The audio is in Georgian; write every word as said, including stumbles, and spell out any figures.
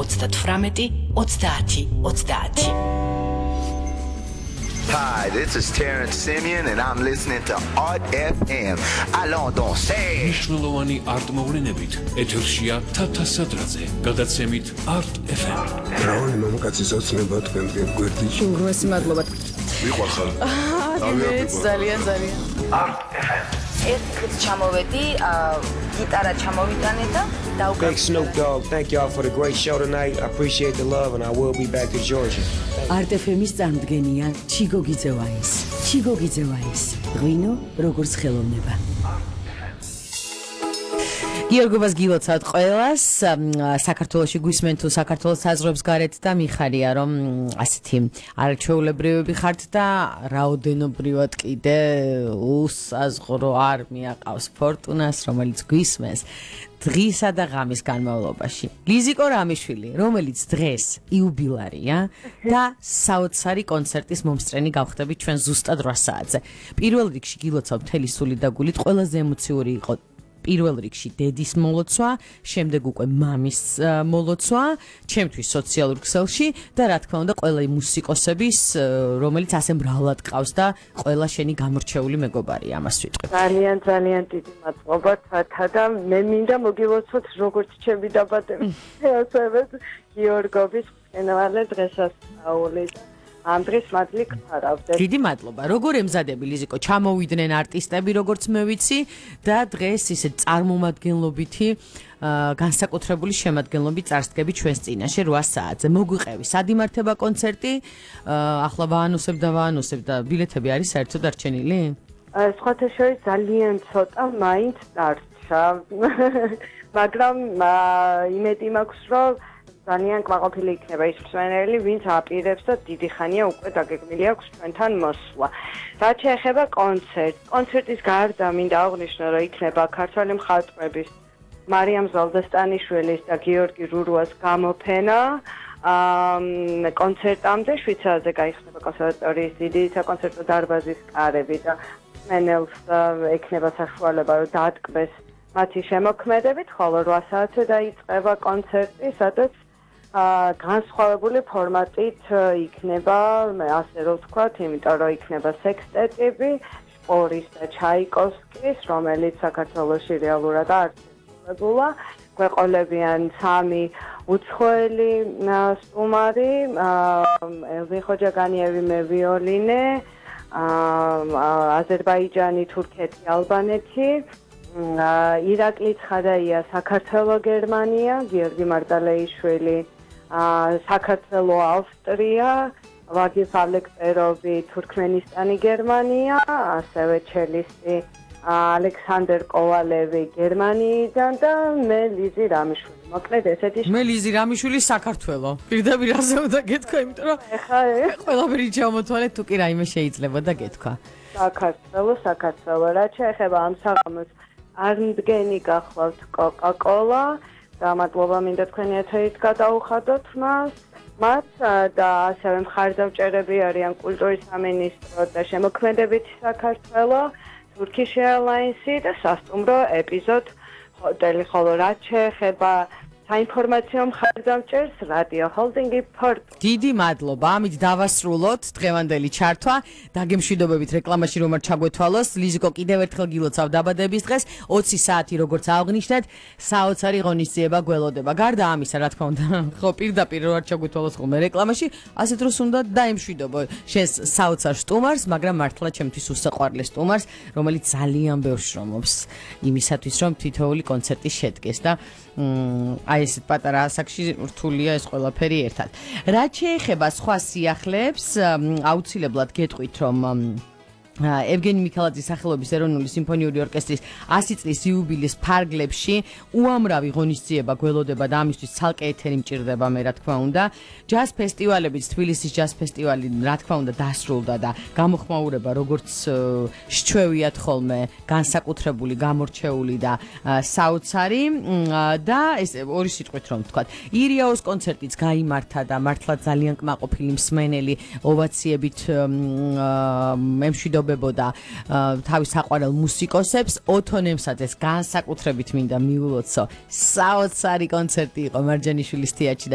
ოცდათვრამეტი ოცდაათი ოცდაათი. Hi, this is Terrence Simeon and I'm listening to Art F M. Allons danser. მნიშვნელოვანი არტ-მოვლენებით ეთერშია თათა სადრაძე, გადაცემით Art F M. რავი მამაკაცის ოცნება თქვენგან გვერდით. უმროსი მადლობა. ვიყვარხარ. აა, ძალიან ძალიან. Art F M. ეს დღეს ჩამოვედი, გიტარა ჩამოვიტანე და Big Snoop Dogg, thank y'all for the great show tonight. I appreciate the love and I will be back to Georgia. Art F M-ის წარმოდგენია ჩიგო გიძევაის. ჩიგო გიძევაის. ღვინო როგორც ხელოვნება. გიორგობას გილოცავთ ყველას, საქართველოში გვისმენ თუ საქართველოს საზღვრებს გარეთ და მიხარია რომ ასეთი არაჩვეულებრივები ხართ და რაოდენობრივად კიდე უსაზღვრო არმია ყავს ფორტუნას, რომელიც გვისმენს დღისა და ღამის განმავლობაში. ლიზიკო რამიშვილი, რომელიც დღეს იუბილარია და საოცარი კონცერტის მომსწრენი გავხდებით ჩვენ ზუსტად რვა საათზე. პირველ რიგში გილოცავ მთელი სული და გულით, ყველაზე ემოციური იყო პირველ რიგში დედის მოლოცვა, შემდეგ უკვე მამის მოლოცვა, ჩემთვის სოციალურ ქსელში და რა თქმა უნდა ყველა მუსიკოსების, რომელიც ასე მრავლად ყავს და ყველა შენი გამორჩეული მეგობარია, ამას ვიტყვი. ძალიან ძალიან დიდი მადლობა თათა და მე მინდა მოგილოცოთ როგორც ჩემი დაბადების ასევე გიორგობის მწვერვალე დღესასწაული. ამ დღეს მადლი გხარავდეთ. დიდი მადლობა. როგორ ემზადები ლიზიკო? ჩამოვიდნენ არტისტები, როგორც მე ვიცი და დღეს ისე წარმომადგენლობითი განსაკუთრებული შემადგენლობით წარსდგები ჩვენს წინაშე რვა საათზე. მოგვიყევი სად იმართება კონცერტი? ახლა ვაანონსებ და ვაანონსებ და ბილეთები არის საერთოდ დარჩენილი? სხვათა შორის ძალიან ცოტა მაინც დარჩა. მაგრამ იმედი მაქვს რომ ძალიან კმაყოფილი იქნება ის მსმენელი, ვინც აპირებს და დიდი ხანია უკვე დაგეგმილი აქვს ჩვენთან მოსვლა. რაც შეეხება კონცერტს, კონცერტის გარდა მინდა აღვნიშნო, რომ იქნება ქართველი მხატვრების მარიამ ზალდასტანიშვილის და გიორგი რურუას გამოფენა. კონცერტამდე შვიცარიაზე გაიხსნება კონსერვატორიის დიდი საკონცერტო დარბაზის კარები და მსმენელს ექნება საშუალება, რომ დაატკბეს მათი შემოქმედებით, ხოლო რვა საათზე დაიწყება კონცერტი, სადაც განსხვავებული ფორმატით იქნება, ასე რომ ვთქვათ, იმიტომ რომ იქნება სექსტეტები, შპორის და ჩაიკოვსკის, რომელიც საქართველოში რეალურად არტისტებულა. გვეყოლებიან სამი უცხოელი სტუმარი, ელვინ ხოჯაგანიევი მე ვიოლინე, აზერბაიჯანი, თურქეთი, ალბანეთი. ირაკლი ცხადაია საქართველო გერმანია, გიორგი მარტალეიშვილი საქართველო ავსტრია, ვაგიფ ალექსეროვი თურქმენისტანი გერმანია, ასევე ჩელისტი ალექსანდერ კოვალევი გერმანიიდან და მე ლიზი რამიშვილი. მოკლედ ესეთი მე ლიზი რამიშვილი საქართველო. პირდაპირ ასე უნდა გეთქვა, იმიტომ რომ ეხა ყველაფერი ჩამოთვალეთ, თუ კი რაიმე შეიძლება და გეთქვა. საქართველო, საქართველო. რაც შეეხება ამ საღამოს არ მდგენი გახლავთ კოკა-კოლა და მადლობა მინდა თქვენი ეთერით გადაუხადოთ მას მათ და ასევე მხარდამჭერები არიან კულტურის სამინისტრო და შემოქმედებითი საქართველო, Turkish Airlines-ი და სასტუმრო ეპიზოდ ჰოტელი, ხოლო რაც შეეხება საინფორმაციო მხარდამჭერს რადიო ჰოლდინგი პორტ. დიდი მადლობა. ამით დავასრულოთ დღევანდელი ჩართვა. დაგემშვიდობებით რეკლამაში რომ არ ჩაგვეთვალოს. ლიზიკო კიდევ ერთხელ გილოცავ დაბადების დღეს. ოცი საათი როგორც აღნიშნეთ, საოცარი ღონისძიება გველოდება. გარდა ამისა, რა თქმა უნდა, ხო პირდაპირ რომ არ ჩაგვეთვალოს ხოლმე რეკლამაში, ასეთ დროს უნდა დაემშვიდობო შენს საოცარ სტუმარს, მაგრამ მართლა ჩემთვის უსაყვარლეს სტუმარს, რომელიც ძალიან ბევრს შრომობს იმისათვის, რომ თითოეული კონცერტი შედგეს და აი ესეთ პატარა ასაკში რთულია ეს ყველაფერი ერთად. რაც შეეხება სხვა სიახლეებს, აუცილებლად გეტყვით, რომ ევგენი მიქელაძის სახელობის ეროვნული სიმფონიური ორკესტრის ასი წლის იუბილეს ფარგლებში უამრავი ღონისძიება გველოდება და ამისთვის ცალკე ეთერი მჭირდება მე რა თქმა უნდა. ჯაზ ფესტივალებიც, თბილისის ჯაზ ფესტივალი რა თქმა უნდა დასრულდა და გამოხმაურება როგორც სჩვევიათ ხოლმე განსაკუთრებული, გამორჩეული და საოცარი და ეს ორი სიტყვით რომ ვთქვათ. ირიაოს კონცერტიც გაიმართა და მართლა ძალიან კმაყოფილი მსმენელი ოვაციებით ემშვიდობებოდა თავის საყვარელ მუსიკოსებს. ოთონემსაძეს განსაკუთრებით მინდა მიულოცო. საოცარი კონცერტი იყო მარჯანიშვილის თეატრში და